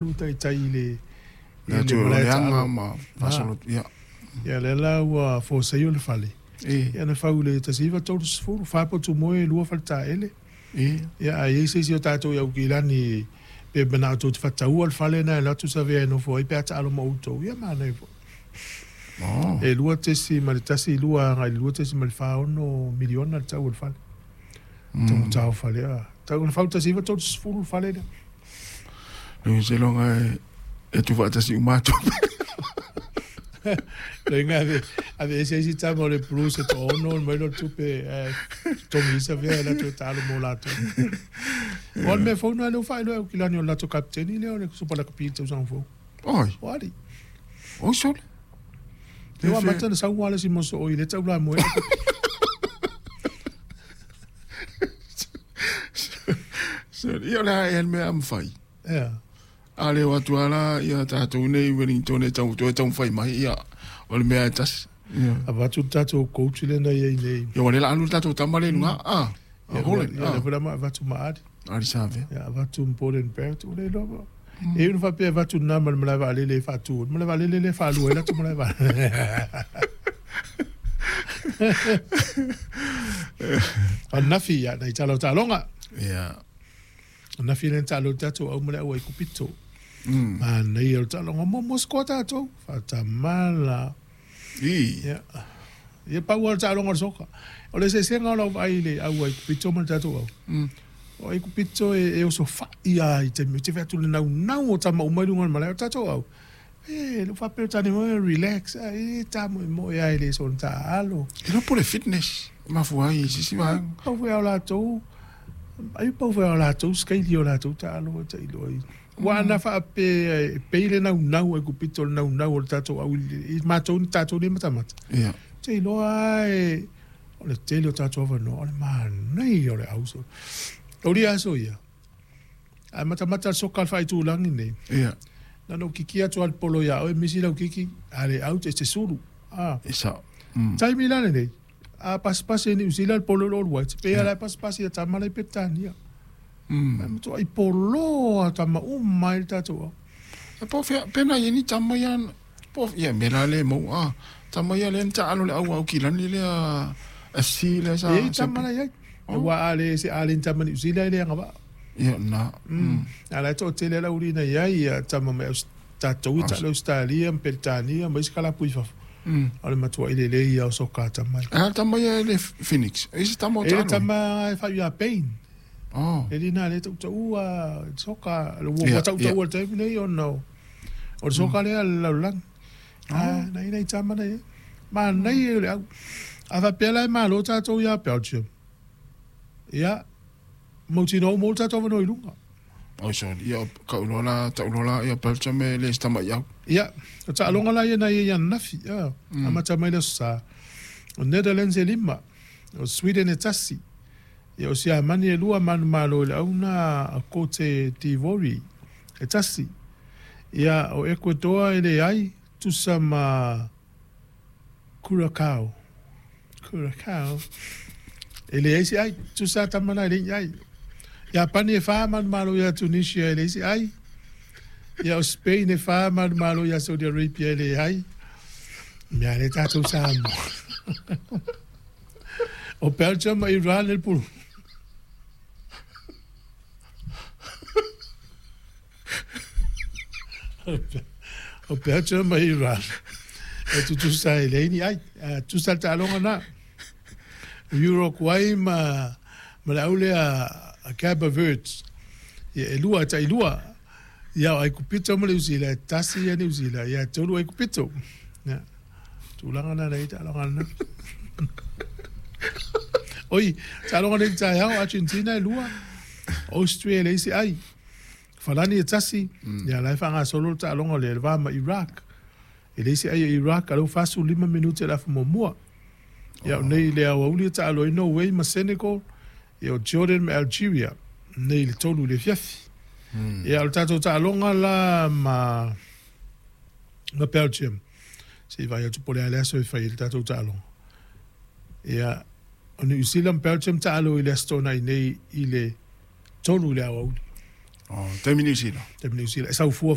Alu taitai i le i le malae taalo ma faasolo ia. Ia lea la ua forceia le fale. Ia na fau i le 1930, fa potu moe, lua faletaele. Ia a i ai se isi o tatou i Aukilani pe manao tou te faataua le fale lena e alu atu savea e nofo ai pe a taalo ma outou, ia manaia foi. E 2.12 agai i le 2.46 miliona le tau o le fale. Taugata o fale a. Tau na fau i le 1930 le fale lea. Ou seiloga e tuufaatasi uma atu. Loiga ave ave ese isi tama o le Blues e toaono ona mai lea o le tupe ae totogi ai savea e latou taalo mo latou. Aua o le mea fou lena lea ua faailoa e Aukilani o le latou kapeteni lea o le Supa Lakapi i le tausaga fou. Oi. O Ali. Oi sole. Lea ua amata ona sau lava le isi moso i le taulamoe. Ia o le a ea le mea a mafai. Ia. A le o atu lava la ia tatou nei Wellington e tau toe taumafai mai, ia o le mea e tasi. Ia. Avatu le tatou coach lea na i ai nei. Ia ua le la alu le tatou tama lea i luga. Ah. Ia, Holland. Ia, lea foi la ma avatu ma Ali. Ali Savea. Ia, avatu ma Beauden Barrett, ua le iloa po. E iu ina faapea e avatu lena ma le malae vaalele e faatu, o le malae vaalele lea e faalua ai latou malae vaalele. O ananafi, ia, nai tala o taaloga. Ia. O ananafi lea na taalo ai le tatou au ma le au Aikupito. Manaia o le taaloga. Muamua sikoa tatou. Faatamala. I. Ia, ia pau lava o le taaloga o le soka. O le eseesega o lau vaai i le au Aikupito ma le tatou au. O Aikupito e oso fai lava i taimi, ou te vaai atu i le naunau o tama uma i luga o le malae. O le tatou au, e le o faapea o tane foi relax, e le tamoemoe lava e le soona taaalo. E iloa po o le fitness e mafua ai i se isi vaega. Pau foi lava o latou, ai pau foi lava o latou sikaili o latou taalo e tailo ai. Aua ana faapea e pei le naunau a Aikupito i le naunau o le tatou au i matou tatou nei matamata. Ia. Ou te iloa lava e o le tele o tatou avanoa, o le manaia o le au. Aulia aso ia, a matamata le soka a le faaitulagi nei, Ia. na ona ou kiki atu lava i le polo ia oe, misi lau kiki, a le out e te sulu. E sao. Taimi la lenei, a pasipasi e Niu Sila le polo i le All Whites, pei lava la e pasipasi e tama la i Peretania. Ae matuai polo lava tama uma ai le tatou au. E po o fea, pe na i ai ni tama ia, po o, ia mea la lea e maua, a, tama ia lea na taalo i le au Aukilani lea FC lea sa. E i ai tama la e i ai. Aua a le se a le ni tama Niu Sila e le agavaa. Ia na. A la e toatele la uli na i ai ia tama mai tatou i taalo Ausetalia ma Peretania ma isi kalapu i fafo. O le matuai lelei ia o soka a tama ia. A tama ia e le Phoenix. E se tama o E le taalo. tama e whai ia Payne. Oh. E lina le tautaua soka, ua Ia, tautaua le taimi nei ona o le soka lea a le lalolagi. Ah, nai nai tama nei. Manaia o le au. A faapea la e malo tatou ia Belgium. Ia, mautinoa ua maua le tatou avanoa i luga. Oi sorry, ia, kau loa la, tau loa la, ia Belgium e le se tama i au. Ia, o taaloga la ia na ia i ananafi, ia, amata mai le Aso Sa. O Netherlands e lima, o Sweden e tasi, ia o Siamani e lua manumalo i le auna a Cote d'Ivory e tasi. Ia, o Ecuador e leai, tusa ma Curacao. Curacao. E leai se ai, tusa tama na e leai ni ai. Iapani e fa manumalo ia Tunisia e leai se ai. Ia o Spain e fa manumalo ia Saudi Arabia e leai. Mea le tatou Samoa. O Belgium ma Iran e le pulu. O Belgium ma Iran e tutusa e leai ni ai. Tutusa le taaloga na. Uruguay ma le au lea a Cape Verde. Ia e lua, e tailua. Ia o Aikupito ma Niu Sila, e tasi ia Niu Sila, ia e tolu Aikupito. Ia, tulaga na nei taaloga na. Oi, taaloga nei taeao, Argentina e lua, Austria e leai se ai. Falani e tasi, ia la e faagasolo le taaloga lea, le va ma Iraq. E leai se ai a Iraq, a lea ua 45 minute o le afa muamua. Ia o nei i le aoauli e taalo ai Norway ma Senegal, ia o Jordan ma Algeria, nei i le 3 i le afiafi. Ia o le tatou taaloga la ma ma Belgium, se i vaai atu po o le a le aso e fai ai le tatou taaloga. Ia o New Zealand ma Belgium taalo i le Aso Toonai nei i le 3 i le aoauli. Oh, taimi Niu Sila. Taimi Niu Sila e saufua.